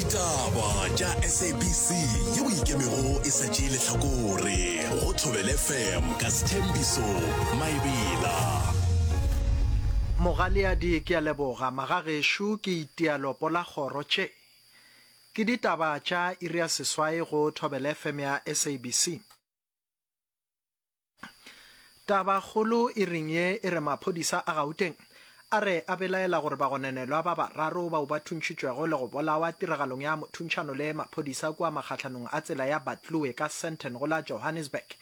Ditaba tša SABC yeo e ikemego e sa tšee lehlakore go Thobela FM ka Sthembiso Maebela. Mogaleadi ke a leboga magagešo ke itia lopo la kgoro tše. Ke ditaba tša iri ya seswai go Thobela FM ya SABC. Tabakgolo e reng ye e re maphodisa a Gauteng a re a belaela gore bagononelwa ba bararo bao ba thuntšhitšwego le go bolawa tiragalong ya mothuntšhano le maphodisa kua makgahlanong a tsela ya Batloe ka Sandton go la Johannesburg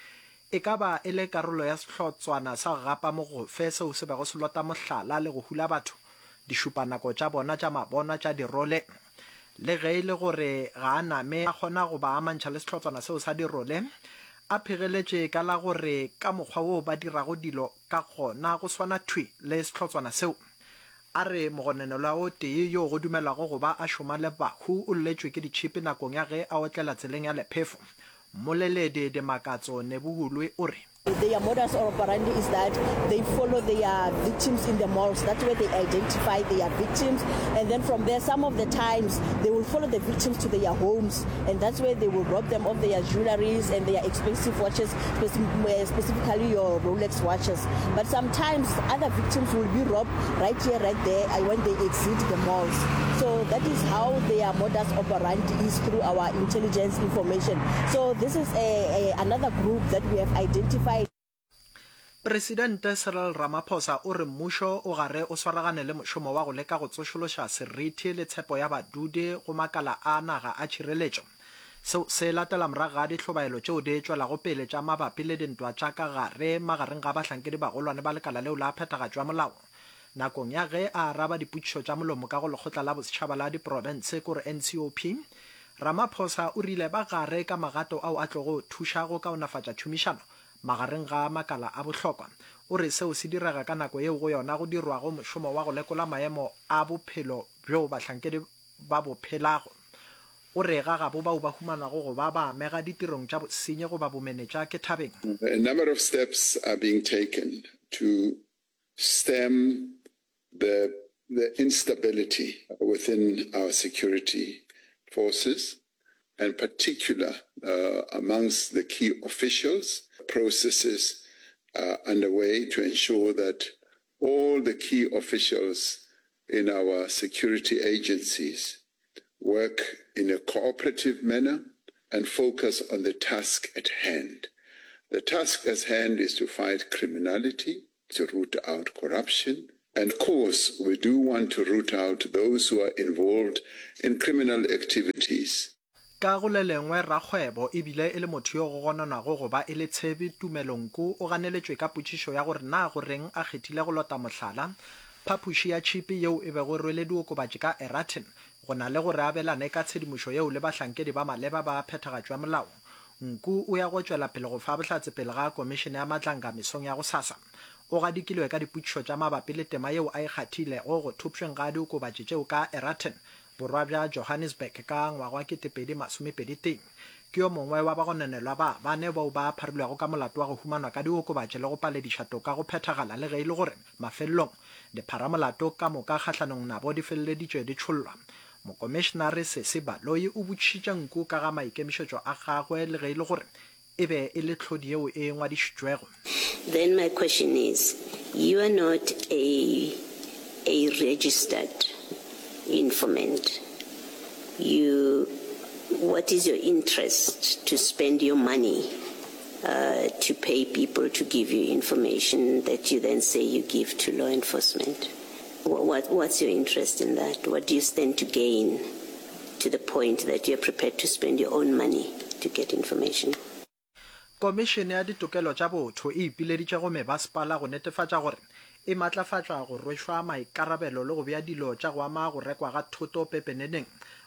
e ka ba e le karolo ya sehlotswana sa go gapa mogofe seo se bego se lota mohlala le go hula batho dišupanako tša bona tša mabonwa tša dirole. Le ge e le gore ga a name a kgona go ba amantšha le sehlotswana seo sa dirole, a phegeletše ka la gore ka mokgwa woo ba dirago dilo ka gona go swana thwi le sehlotswana seo. A re mogononelwa o tee yoo go dumelwago go ba a šoma le bahu o lletšwe ke ditšhipi nakong ya ge a otlela tseleng ya lephefo. Mmoleledi Dimakatso Nebuhulwe o re. Their modus operandi is that they follow their victims in the malls. That's where they identify their victims. And then from there, some of the times, they will follow the victims to their homes. And that's where they will rob them of their jewelries and their expensive watches, eh, specifically your Rolex watches. But sometimes other victims will be robbed right here, right there, eh, when they exit the malls. So that is how their modus operandi is through our intelligence information. So this is a, a, another group that we have identified. Presidente Cyril Ramaphosa o re mmušo o gare o swaragane le mošomo wa go leka go tsošološa seriti le tshepo ya badudi go makala a naga a tšhireletšo. Seo se latela morago ga dihlobaelo tšeo di tšwelago pele tša mabapi le dintwa tša ka gare magareng ga bahlankedi bagolwane ba lekala leo la phethagatšo ya molao. Nakong ya ge a araba dipotšišo tša molomo ka go Lekgotla la Bosetšhaba la Diprofense, kore NCOP, Ramaphosa o rile ba gare ka magato ao a tlogo thuša go kaonafatša tšhomišano magareng ga makala a bohlokwa. O re seo se direga ka nako yeo go yona go dirwago mošomo wa go lekola maemo a bophelo bjo bahlankedi ba bo phelago. O re ga gabo bao ba humanwago go ba ba amega ditirong tša bosenyi goba bomenetša ke thabeng. A number of steps are being taken to stem the the instability within our security forces and particular uh, amongst the key officials. Processes are underway to ensure that all the key officials in our security agencies work in a cooperative manner and focus on the task at hand. The task at hand is to fight criminality, to root out corruption, and of course, we do want to root out those who are involved in criminal activities. Ka go le lengwe, rakgwebo e bile e le motho yo go gononwago go ba e le tshebi, Tumelo Nku, o ganeletšwe ka potšišo ya gore na go reng a kgethile go lota mohlala phapoši ya tšhipi yeo e bego e rwele diokobatši ka Eraton go na le gore a abelane ka tshedimošo yeo le bahlankedi ba maleba ba phethagatšo ya molao. Nku o ya go tšwela pele go fa bohlatse pele ga Komišene ya Matlanga mesong ya gosasa. O gadikilwe ka dipotšišo tša mabapi le tema yeo a e kgathilego go thopšweng ga diokobatši tšeo ka Eraton Borwa bja Johannesburg ka ngwaga wa 2021. Ke yo mongwe wa bagononelwa ba bane bao ba pharilwego ka molato wa go humanwa ka diokobatši le go palediša toka go phethagala le ge e le gore mafelelong dipharamolato ka moka kgahlanong nabo di feleleditšwe di tšhollwa. Mokomišenare Sesi Baloyi o botšišitše Nku ka ga maikemišetšo a gagwe le ge e le gore e be e le tlhodi yeo e ngwadišitšwego. Then my question is, you are not a a registered informant, you what is your interest to spend your money uh, to pay people to give you information that you then say you give to law enforcement? What, what's your interest in that? What do you stand to gain to the point that you're prepared to spend your own money to get information? Komišene ya Ditokelo tša Botho e ipileditše go mebasepala go netefatša gore e matlafatšwa go rwešwa maikarabelo le go bea dilo tša go ama go rekwa ga thoto pepeneneng.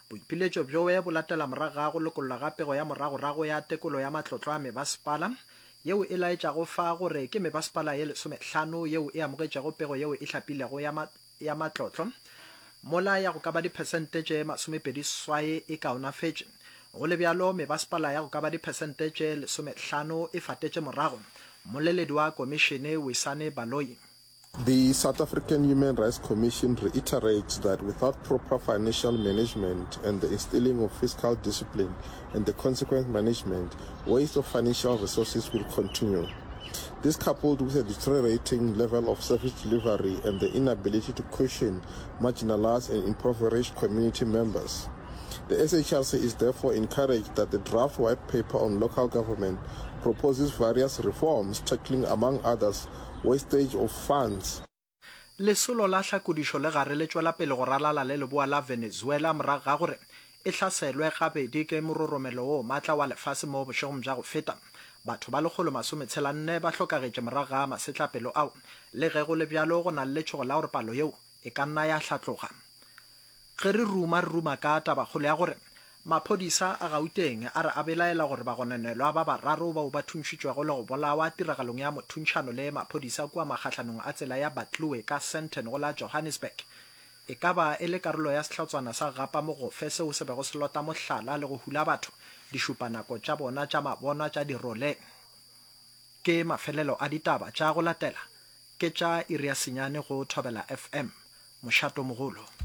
Boipiletšo bjoe bo latela morago ga go lokollwa ga pego ya moragorago ya tekolo ya matlotlo a mebasepala yeo e laetšago fa gore ke mebasepala ye lesomehlano yeo e amogetšego pego yeo e hlapilego ya ya matlotlo, mola ya go ka ba diphesente tše masomepedi-seswai e kaonafetše. Go le bjalo, mebasepala ya go ka ba diphesente tše lesomehlano e fatetše morago. Mmoleledi wa komišene, Wisani Baloyi. The South African Human Rights Commission reiterates that without proper financial management and the instilling of fiscal discipline and the consequent management, waste of financial resources will continue. This coupled with a deteriorating level of service delivery and the inability to cushion marginalized and impoverished community members. The SHRC is therefore encouraged that the draft white paper on local government proposes various reforms tackling, among others, wastage of funds. Lesolo la hlakodišo le gare le tšwela pele go ralala le leboa la Venezuela morago ga gore e hlaselwe gabedi ke mororomelo wo matla wa lefase mo bošegong bja go feta. Batho ba lekgolo-masometshela-nne ba hlokagetše morago ga masetlapelo ao. Le ge go le bjalo, go na le letšhogo la gore palo yeo e ka nna ya hlatloga. Ge re ruma, re ruma ka tabakgolo ya gore maphodisa a Gauteng a re a belaela gore bagononelwa ba bararo bao ba thuntšhitšwego le go bolawa tiragalong ya mothuntšhano le maphodisa kua magahlanong a tsela ya Batloe ka Sandton go la Johannesburg e ka ba e le karolo ya sehlotswana sa gapa mogofe seo se bego se lota mohlala le go hula batho dišupanako tša bona tša mabonwa tša dirole. Ke mafelelo a ditaba tša go latela ke tša iri ya senyane go Thobela FM. Mošatomogolo.